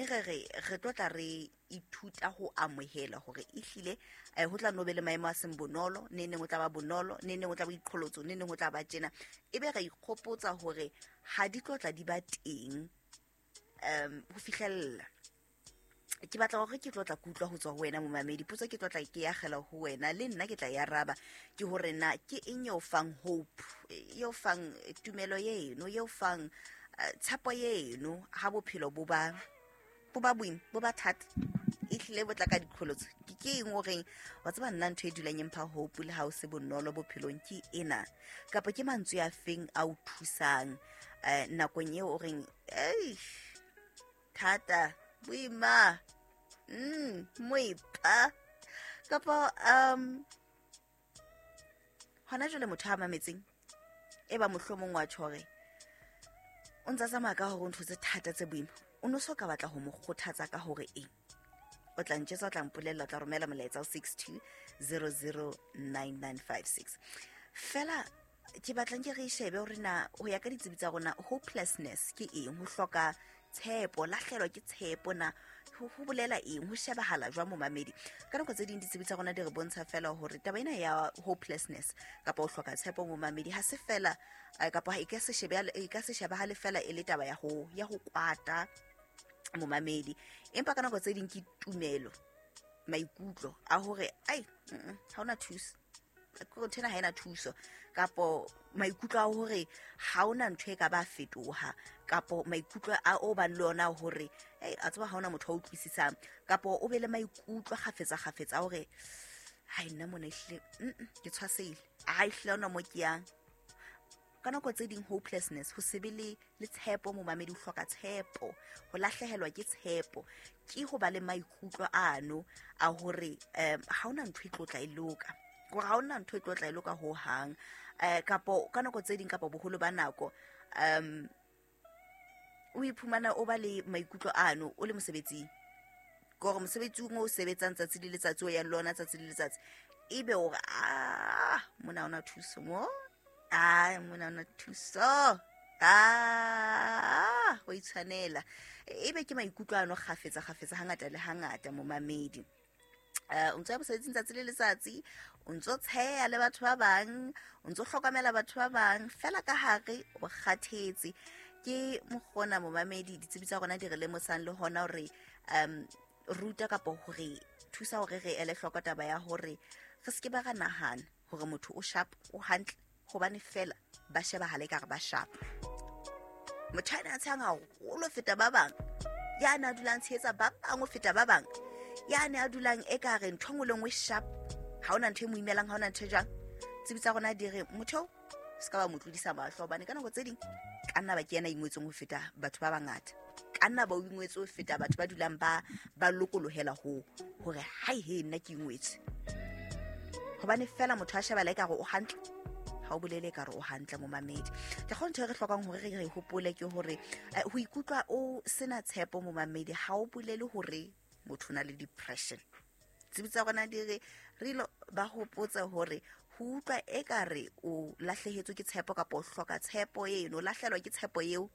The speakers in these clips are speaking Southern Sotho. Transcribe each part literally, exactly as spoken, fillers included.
re re re tlo tla re ithuta ho amohela hore ehlile eh, ho tla no be le maemo a seng bonolo, ne neng o tla ba bonolo, ne neng o tla ba iqholotso, ne neng o tla ba tjena. Ebe re ikgopotsa hore ha di tlo tla di ba teng um ho fihlella. Ke batla hore ke tlo tla kutlwa ho tswa ho wena momamedi. Potso ke tlo tla ke akgela ho wena, le nna ke tla e araba, ke hore na ke eng eo fang hope, eo fang tumelo eno, eo fang eh, tshepo eno ha bophelo bo ba bo ba boima, bo ba thata, ehlile bo tla ka diqholotso. Ke ke eng o reng wa tseba nna ntho e dulang e mpha hope le ha o se bonolo bophelong ke ena, kapa ke mantswe a feng a o thusang eh, nakong eo o reng eish thata, boima, mm moipa, kapa um hona jwale motho a mametseng e ba mohlomong wa tjho hore o ntsa tsamaya ka hore o ntho tse thata tse boima, o no so ka batla ho mo kgothatsa ka hore eng? O tla ntjwetsa, o tla mpolella, o tla romela molaetsa ho six two zero zero nine nine five six. Fela ke batlang ke re shebe hore na ho ya ka ditsebi tsa rona hopelessness ke eng, ho hloka tshepo, lahlehelwa ke tshepo na ho ho bolela eng, ho shebahala jwang momamedi. Ka nako tse ding ditsebi tsa rona di re bontsha fela hore taba ena ya hopelessness kapa ho hloka tshepo momamedi ha se fela, eh, kapa e ka se shebe, e ka se shebahale fela e le taba ya ho, ya ho kwata momamedi, empa ka nako tse ding ke tumelo, maikutlo a hore ai, mm-mm, ha hona thuso, kore ntho ena ha ena thuso, kapo maikutlo a hore ha hona ntho e ka ba fetoha, kapo maikutlo a o bang le ona hore ei, a tseba ha hona motho a utlwisisang, kapo o be le maikutlo kgafetsa kgafetsa a hore hai nna mona ehlile, mm-mm, ke tshwasehile, ha ehlile ha hona mo ke yang. Ka nako tse ding hopelessness, ho se be le, le tshepo momamedi, ho hloka tshepo, ho lahlehelwa ke tshepo, ke ho ba le maikutlo ano a hore um ha hona ntho e tlo tla e loka, hore ha hona ntho e tlo tla e loka ho hang. Eh, kapo ka nako tse ding kapa boholo ba nako um o iphumana o ba le maikutlo ano o le mosebetsing, ke hore mosebetsing o sebetsang tsatsi le letsatsi, o yang le ona tsatsi le letsatsi, ebe o re, ah, mona ha hona thuso mo, ah, mona ha hona thuso, ah, ho itshwanela. Ebe ke maikutlo ano kgafetsa kgafetsa hangata le hangata momamedi. Eh, o ntso ya mosebetsing tsatsi le letsatsi, o ntso tsheya le batho ba bang, o ntso hlokomela batho ba bang, fela ka hare o kgathetse. Ke mokgona momamedi ditsebi tsa rona di re lemosang le hona hore um ruta kapa hore thusa hore re ele hloko taba ya hore re se ke ba ra nahana hore motho o sharp, o hantle, hobane fela ba shebahala ekare ba sharp. Motho a ne a tshehang haholo ho feta ba bang, ya ne a dulang tshehetsa ba bang ho feta ba bang, ya ne a dulang ekare ntho e nngwe le nngwe sharp, ha hona ntho e mo imelang, ha hona ntho e jwang. Tsebi tsa rona di re motho o se ka ba mo tlodisa mahlo, hobane ka nako tse ding ka nna ba ke yena a ingwetseng ho feta batho ba bangata, ka nna ba o ingwetse ho feta batho ba dulang ba, ba lokolohela ho hore hai he nna ke ingwetse. Hobane fela motho a shebala ekare o hantle, ha o bolele ekare o hantle momamedi. Ke kgona ntho e re hlokang hore re re hopole ke hore, eh, ho ikutlwa o sena tshepo momamedi ha o bolele hore motho o na le depression. Tsebi tsa rona di re re ilo ba hopotse hore ho utlwa ekare o lahlehetswe ke tshepo kapa o hloka tshepo eno, o lahlehelwa ke tshepo eo,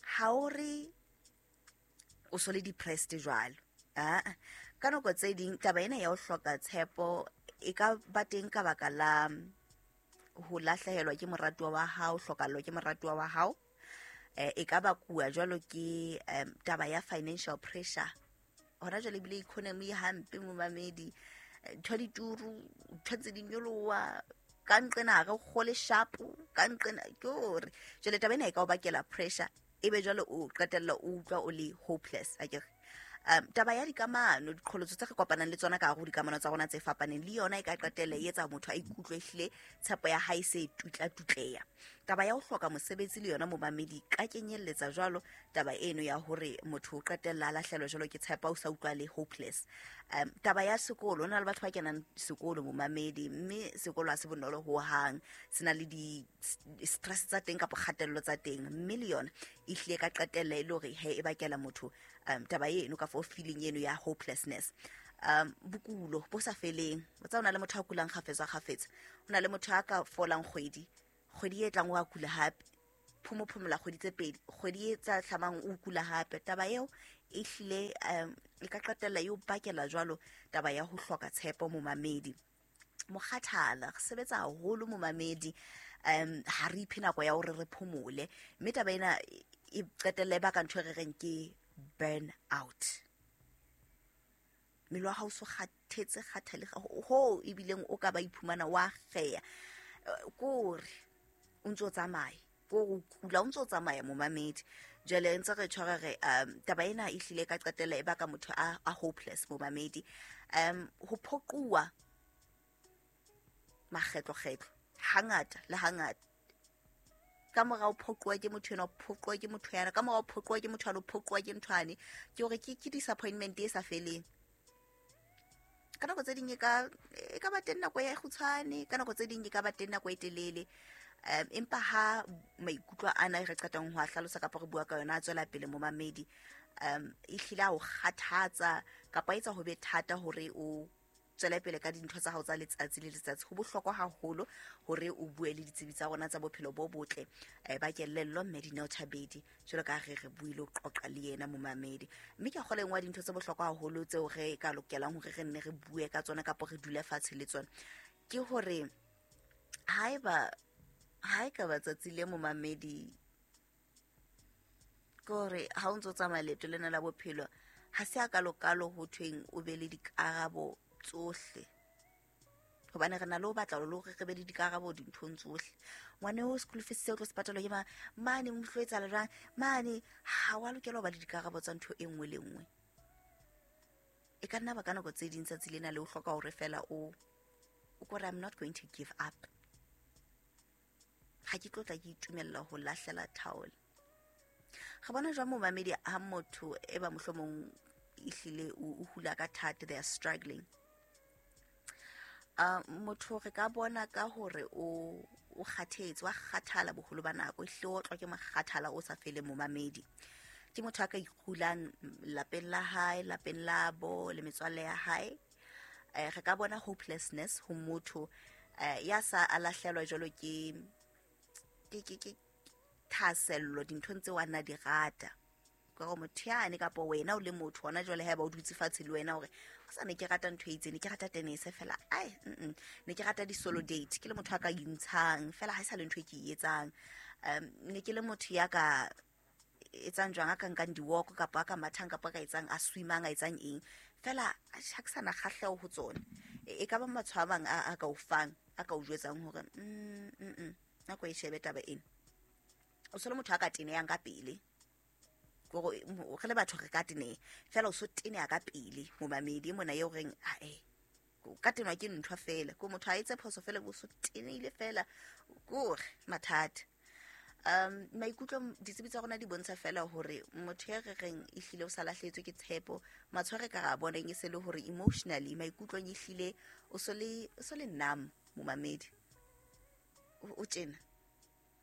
ha o re o so le depressed jwalo. Ah, ka nako tse ding taba ena ya ho hloka tshepo e ka ba teng ka baka la ho lahlehelwa ke moratuwa wa hao, hlokallwa ke moratuwa wa hao. Eh, e ka bakuwa jwalo ke, em, taba ya financial pressure. Hona jwale ebile economy e hampe momamedi, ntho di turu, ntho tse di nyoloha, ka nqena ha re kgole sharp, ka nqena ke hore jwale taba ena e ka o bakela pressure, ebe jwale o qetella o utlwa o le hopeless, akere. Um, taba ya dikamano, diqholotso tse re kopanang le tsona ka hare ho dikamano tsa rona tse fapaneng, le yona e ka qetella e etsa motho a ikutlwe ehlile tshepo ya hae se tutla-tutleya. Taba ya ho hloka mosebetsi le yona momamedi ka kenyelletsa jwalo taba eno ya hore motho o qetella a lahlehelwa jwalo ke tshepo, o sa utlwa le hopeless. Um, taba ya sekolo, ho na le batho ba kenang sekolo momamedi, mme sekolo ha se bonolo ho hang, se na le di stress tsa teng kapa kgatello tsa teng, mme le yona e hlile ka qetella e le hore he e bakela motho, um, taba eno ka fo feeling eno ya hopelessness. Um, bokulo bo sa feleng, o tseba ho na le motho a kulang kgafetsa kgafetsa, ho na le motho a ka folang kgwedi, kgwedi e tlang o a kula hape, phomophomola kgwedi tse pedi, kgwedi e tsa hlamang o kula hape. Taba eo Ehlile um e ka qetella e o bakela jwalo taba ya ho hloka tshepo momamedi. Mokgathala, re sebetsa haholo momamedi, um ha re iphe nako ya hore re phomole, mme taba ena e qetella e baka ntho e re reng ke burn out. Mmele wa hao o so kgathetse kgathale hoo ebileng o ka ba iphumana wa kgeya, kore o ntso tsamaya, kore o kula o ntso tsamaya momamedi. Jwale ntse re tshwara re um taba ena e hlile ka qetella e baka motho a, a hopeless momamedi. Um ho phoquwa makgetlo-kgetlo hangata le hangata, ka mora ho phoquwa ke motho enwa, phoquwa ke motho yana, ka mora ho phoquwa ke motho yana, phoquwa ke ntho yane, ke hore ke ke disappointment e sa feleng. Ka nako tse ding e ka e ka ba teng nako e kgutshwane, ka nako tse ding e ka ba teng nako e telele. Um empa ha maikutlo ana re qetang ho a hlalosa kapa re bua ka yona a tswela pele momamedi, um e hlile a o kgathatsa kapa etsa ho be thata hore o tswele pele ka dintho tsa hao tsa letsatsi le letsatsi. Ho bohlokwa haholo hore o bue le ditsebi tsa rona tsa bophelo bo botle ba kelello, mme Dineo Thabedi, jwalo ka re re buile o qoqa le yena momamedi. Mme ke a kgolwa e nngwe ya dintho tse bohlokwa haholo tseo re ka lokelang hore re nne re bue ka tsona kapa re dule fatshe le tsona, ke hore haeba ha e ka ba tsatsi le momamedi, ke hore ha o ntso tsamaya leeto lena la bophelo, ha se a kalokalo ho thweng o be le dikarabo tsohle, hobane re na le ho batla le hore re be le dikarabo dinthong tsohle. Ngwana eo school fees seo tlo se patalwa ke mang, mane mo tlo etsahala jwang, mane ha wa lokela ho ba le dikarabo tsa ntho e nngwe le nngwe. E ka nna ba ka nako tse ding tsatsi lena le o hloka hore fela o o kore I'm not going to give up, ha ke tlo tla ke itumella ho lahlela towel. Re bona jwang momamedi ha motho e ba mohlomong ehlile o hula ka thata, they are struggling. Uh, motho re ka bona ka hore o o kgathetse, wa kgathala boholo ba nako, ehlile o otlwa ke mokgathala o sa feleng momamedi. Ke motho a ka ikulang lapeng la hae, lapeng la bo le metswalle ya hae. Eh, re ka bona hopelessness ho motho eh, ya sa a lahlelwa jwalo ke ke ke ke thahasello dinthong tseo a nna di rata. Ka hore motho yane kapa wena o le motho hona jwale haeba o dutse fatshe le wena hore o sa ne ke rata ntho e itseng, ne ke rata tennis fela, ai mm ne ke rata di-solo date, ke le motho a ka intshang fela ha e sa le ntho e ke e etsang. Um ne ke le motho ya ka etsang jwang, a ka nkang di-walk kapa a ka mathang kapa a ka etsang, a swimang, a etsang eng fela, ha ke sana kgahleho ho tsona. E ka ba matshwao a mang a ka o fang, a ka o jwetsang hore mm mm nako e shebe taba ena. O so le motho a ka tenehang ka pele, gore re le batho re ka teneha fela, o so teneha ka pele momamedi mona eo reng ae ka tenwa ke ntho fela, ko motho a etse phoso fela bo so tenehile fela, kore mathata. Um maikutlo ditsebi tsa rona di bontsha fela hore motho ya re reng ehlile o sa lahlehetswe ke tshepo, matshwao re ka ra boneng e se le hore emotionally maikutlong ehlile o so le o so le numb momamedi, o tjena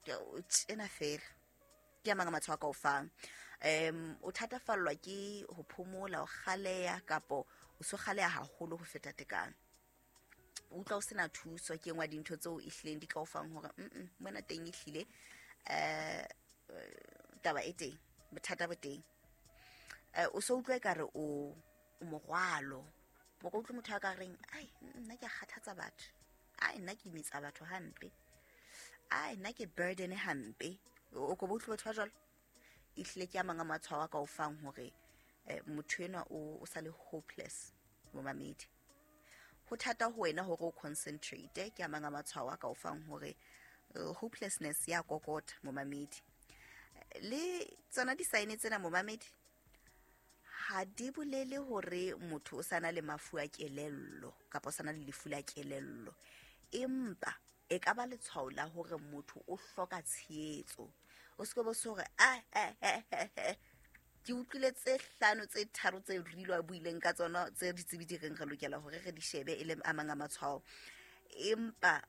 o tjena fela, ke a mang matshwao a ka o fang. Um o thatafallwa ke ho phomola, o kgaleha kapo o so kgaleha haholo ho feta tekano, o utlwa o sena thuso. Ke engwe ya dintho tseo ehlileng di ka o fang hore mm mona teng ehlile eh taba e teng, bothata bo teng. Eh o so utlwe ekare o o morwalo, o ka utlwa motho a ka reng ai nna ke a kgathatsa batho, ai nna ke imetsa batho hampe, ai nna ke burden hampe. O ko bo utlwe batho ba jwalo. Ehlile ke a mang a matshwao a ka o fang hore motho enwa o o sa le hopeless momamedi. Ho thata ho wena hore o concentrate, ke a mang a matshwao a ka o fang hore hopelessness ya kokota momamedi. Le tsona di-sign tsena momamedi ha di bolele hore motho o sana le mafu a kelello kapa o sana le lefu la kelello, empa e ka ba letshwao la hore motho o hloka tshehetso. O se ke bo se hore a ke utlwile tse hlano tse tharo tse Rilo a buileng ka tsona tse ditsebi di reng re lokela hore re di shebe e le a mang a matshwao, empa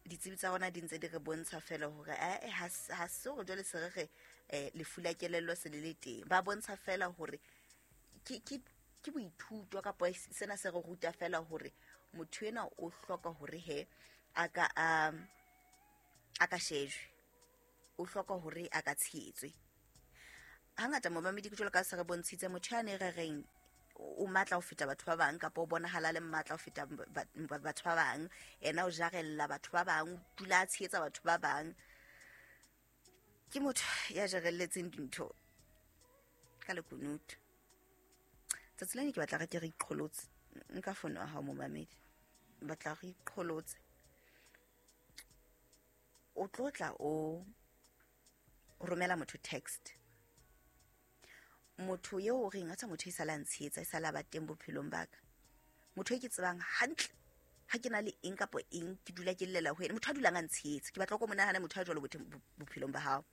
ditsebi tsa rona di ntse di re bontsha fela hore eh ha se hore jwale se re re lefu la kelello se le le teng. Ba bontsha fela hore ke ke ke boithuto kapa sena se re ruta fela hore motho ena o hloka hore he a ka a a ka shejwe, o hloka hore a ka tshehetswe. Hangata momamedi ke jwalo ka se re bontshitse motho ya ne re reng o matla ho feta batho ba bang kapa o bonahala le matla ho feta batho ba bang, yena o jarella batho ba bang, o dula a tshehetsa batho ba bang. Ke motho ya jarelletseng dintho ka lekunutu. Tsatsi lena ke batla re ke re iqholotse. Nka fono ya hao momamedi, batla re iqholotse. O tlo tla o romela motho text, motho eo o reng a tsa motho e sala ntshehetsa, e sala ba teng bophelong ba ka, motho e ke tsebang hantle ha ke na le eng kapa eng ke dula ke llela ho yena, motho a dulang a ntshehetsa. Ke batla ko monahane motho a jwalo bophelong ba hao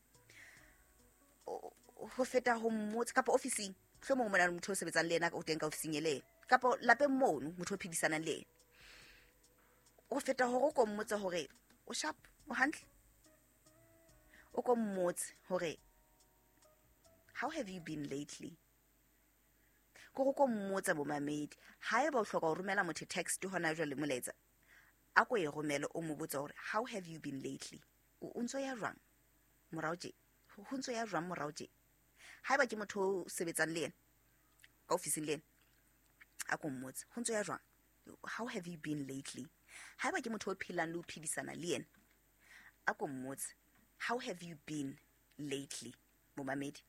ho feta ho mmotsa kapa ofising. Mohlomong o mona le motho o sebetsang le yena o teng ka ofising e le yena, kapa lapeng mono motho o phedisanang le yena. Ho feta hore o ko mmotse hore o sharp, o hantle, o ko mmotse hore how have you been lately. Ko ko mmotsa bomamedi, haeba o hloka ho romela motho text hona jwale molaetsa, a ko e romele o mo botse hore how have you been lately, o ntso ya jwang morao tje, ho ntso ya jwang morao tje. Haeba ke motho o sebetsang le yena ka ofising le yena, a ko mmotse ho ntso ya jwang, how have you been lately. Haeba ke motho o phelang le o phedisana le yena, a ko mmotse how have you been lately momamedi.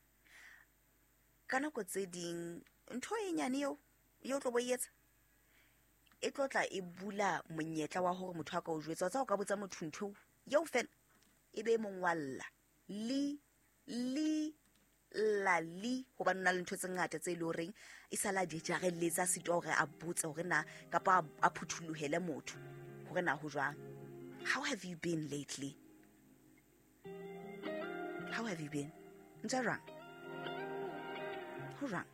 Ka nako tse ding ntho e nyane eo eo tlo bo etsa e tlo tla e bula monyetla wa hore motho a ka o jwetsa. Tsa o ka botsa motho ntho eo fela e be mongwalla li li la li, hobane o na le ntho tse ngata tse le horeng e sala di jarelletsa sitwa hore a botse hore na kapa a phuthulohele motho hore na ho jwang. How have you been lately? How have you been? Ntse jwang? Ho jwang?